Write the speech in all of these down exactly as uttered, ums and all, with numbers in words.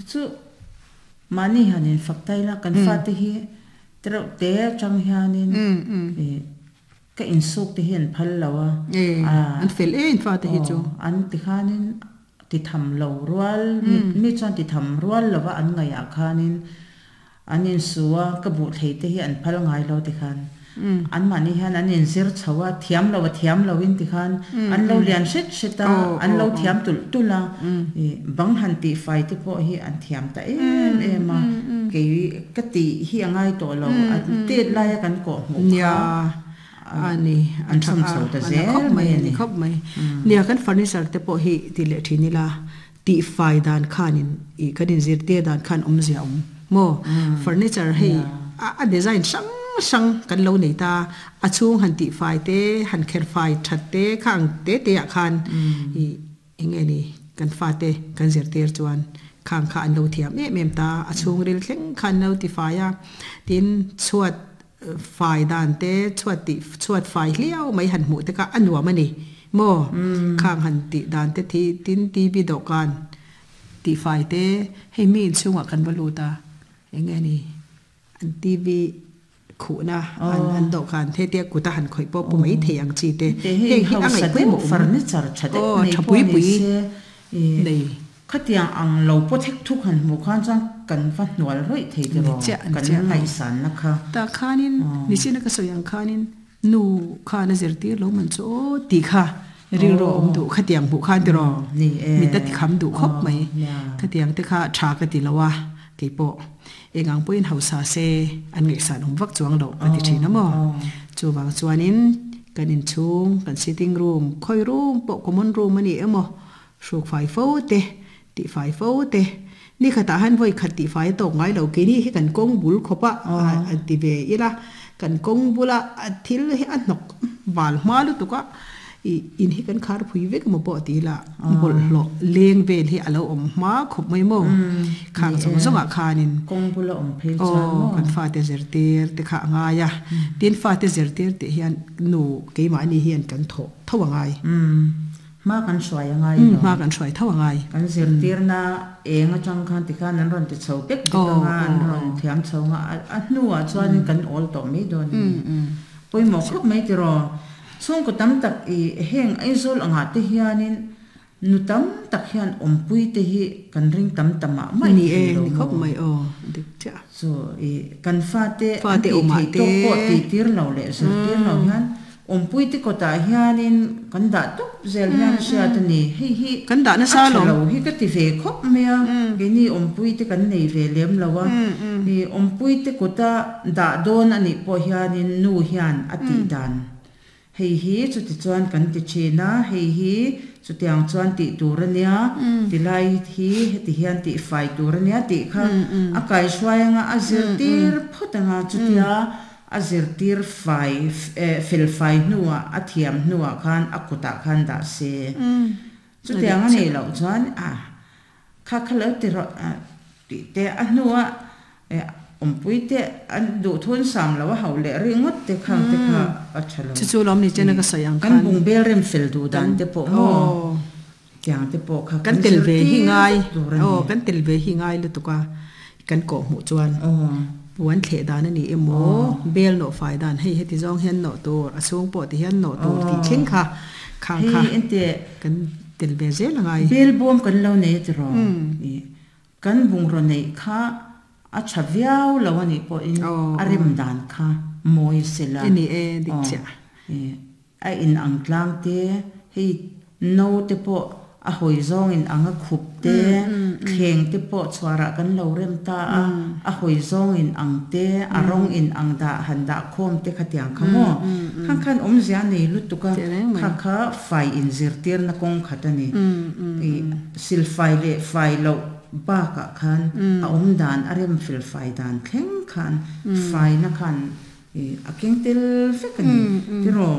Chu mani hanin faktaila kan fa te hi tro te chang hianin e ka in suk te hian phal lawa. E an fel e in fa te hi chu. An ti khanin ti tham lo rual mi chuan ti tham rual lawa an ngai a khanin an in suwa ka bu thei te hi an phal ngai lo ti khan an mani hian an in zir chawa thiam lo thiam lo in ti khan an lo lian set seta an lo thiam tul tula e bang han ti fai te po hi an thiam ta em em a ke ka ti hi angai to lo at te lai kan ko mu nia ani an cham chho ta zel mai ani khop mai nia kan furniture te po hi ti le thinila ti fai dan khanin i kanin zir te dan khan om zia om mo furniture hei a design sang sang kan lo nei ta a chung han ti fai te han kher fai that te khang te te a khan i enge ni kan fa te kan zir ter chuan khang kha an lo thiam em em ta a chung ril thleng khan lo ti fai a tin chuat fai dan te chuat ti chuat fai hliau mai han mu te ka anuam ani mo khang han ti dan te thi tin ti bi do kan ti fai te hei mi in chunga kan balu ta enge ni an T V khu na an an do kan the te kuta han khoi po pu mai the ang chi te hei hi angai pui mo furniture thate nei pui pui nei khatiang ang lo po thek thuk han mu khan chang kan va hnual roi thei te ro kan ngai san na kha ta khanin ni china ka soyang khanin nu kha na zertir lo man cho ti kha ril ro om du khatiang bu khan te ro ni e mi ta ti kham du khop mai khatiang te kha tha ka ti lawa ke po engang poin hausa se an ngai san om vak chuang lo ka ti thina mo chu wang chuanin kan in chung kan sitting room khoi room po common room ani emo suk fai fo te ti fai fo te ni khata han voi khat ti fai to ngai lo ke ni hi kan kong bul khopa an ti ve ila kan kong bula thil hi an nok wal ma lu tuka in hi kan khar phui vek mo po ti la bol lo leng vel hi alo om ma khop mai mo khang chong chong a khanin kong bula om phei chuan mo kan fa te zer tir te kha anga ya tin fa te zer tir te hian nu keima ni hian kan tho thawangai ma kan suai angai lo ma kan suai thawangai kan zir tir na enga chang khan ti khan an ron ti chho pek dikanga an ron thiam chho nga a hnuwa chuan kan ol to mi don poi mo khop mai ti ro chung ko tam tak i heng aizol anga te hianin nu tam tak hian ompui te hi kan ring tam tama mai ni e ni khop mai o dik cha so i kan fa te fa te oma te to po ti tir lo le zir tir lo hian ompui te kota hianin kan da tuk zel hian sia te ni hei hi kan da na sa lo lo hi ka ti ve khop mea ke ni ompui te kan nei ve lem lowa i ompui te kota da don ani po hianin nu hian ati dan hei hi chu ti chuan kan ti chena hei hi chu tiang chuan ti turania ti lai hi heti hian ti fai turania ti kha a kai suainga a zir tir photanga chu tia a zir tir fai fel fai nuwa a thiam nuwa khan a kuta khan da se chu tiang ani lo chuan a kha khalo ti ro ti te a nuwa ompui te an du thun sam lo hau le ringot te khang te kha a thalo chu chu lom ni chena ka sayang kan bung bel rem fel du dan te po mo kyang te po kha kan tel ve hi ngai o kan tel ve hi ngai lu tuka kan ko mu chuan puan thle dan ani emo bel no fai dan hei heti zong hian no tur a chung po ti hian no tur ti thleng kha khang kha ente kan tel ve zel ngai bel bom kan lo nei ti ro kan bung ro nei kha a chaviau lawani po in arim dan kha moi sela ni e dik cha a in ang tlang te hei no te po a hoi zong in anga khup te thleng te po chwara kan lo rem ta a a hoi zong in ang te a rong in ang da han da khom te khatiang khamo khang khan om zia nei lutuka kha kha fai in zir tir na kong khatani i sil fai le fai lo ba ka khan a om dan arem fil fai dan thleng khan fai na khan a keng tel fekani tiro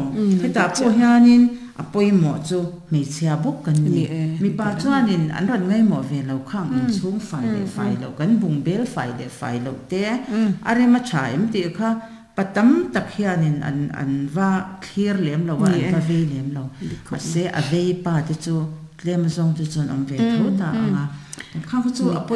heta po hianin a poimo chu hmeichhia bawk kan ni mi pa chuanin an ran ngai mo ve lo khang in chung fai le fai lo kan bung bel fai le fai lo te arema tha em ti kha patam tak hianin an an va clear lem lo wa an va ve lem lo ma se a ve pa te chu tlem zong chu chon om ve tho ta anga khang chu a poi